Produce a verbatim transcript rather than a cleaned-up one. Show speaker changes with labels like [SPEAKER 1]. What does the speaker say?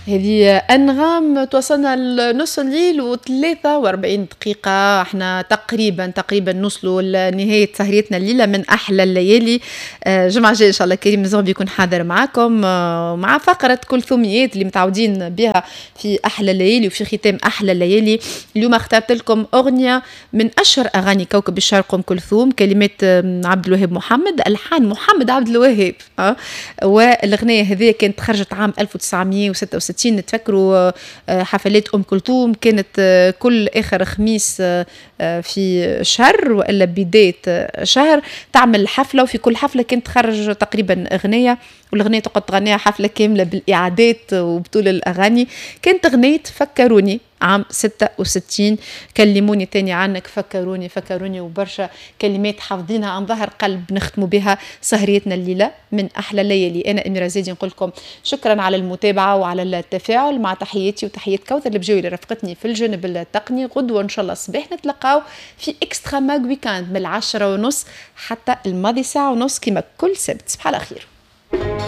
[SPEAKER 1] هذه أنغام. توصلنا لنص الليل وثلاثة وأربعين دقيقة، احنا تقريبا تقريبا نوصلوا لنهاية سهريتنا الليلة من أحلى الليالي. آه، جمعة جاية إن شاء الله كريم زغبي يكون حاضر معاكم آه، مع فقرة كلثوميات اللي متعودين بها في أحلى الليالي وفي ختام أحلى الليالي. اليوم اخترت لكم أغنية من أشهر أغاني كوكب الشرق أم كلثوم، كلمات عبد الوهاب محمد، ألحان محمد عبد الوهاب، أه؟ والأغنية هذه كانت خرجت عام ألف وتسعمية وستة وستين. نتفكروا آه، حفلات ام كلثوم كانت آه، كل اخر خميس آه، في شهر والا بداية شهر تعمل حفله، وفي كل حفلة كانت تخرج تقريبا اغنيه، والاغنية تقعد تغنيها حفلة كاملة بالاعادات وبطول الاغاني. كانت اغنية فكروني عام ستة وستين، كلموني تاني عنك، فكروني فكروني، وبرشا كلمات حافظينها عن ظهر قلب. نختموا بها سهريتنا الليلة من أحلى الليالي. أنا أميرة زيدي نقول لكم شكرا على المتابعة وعلى التفاعل، مع تحياتي وتحيات كوثر البجاوي اللي رافقتني في الجانب التقني. غدوة إن شاء الله الصباح نتلقاو في Extra Mag Weekend من العشرة ونص حتى الماضي ساعة ونص كما كل سبت. صباح على خير.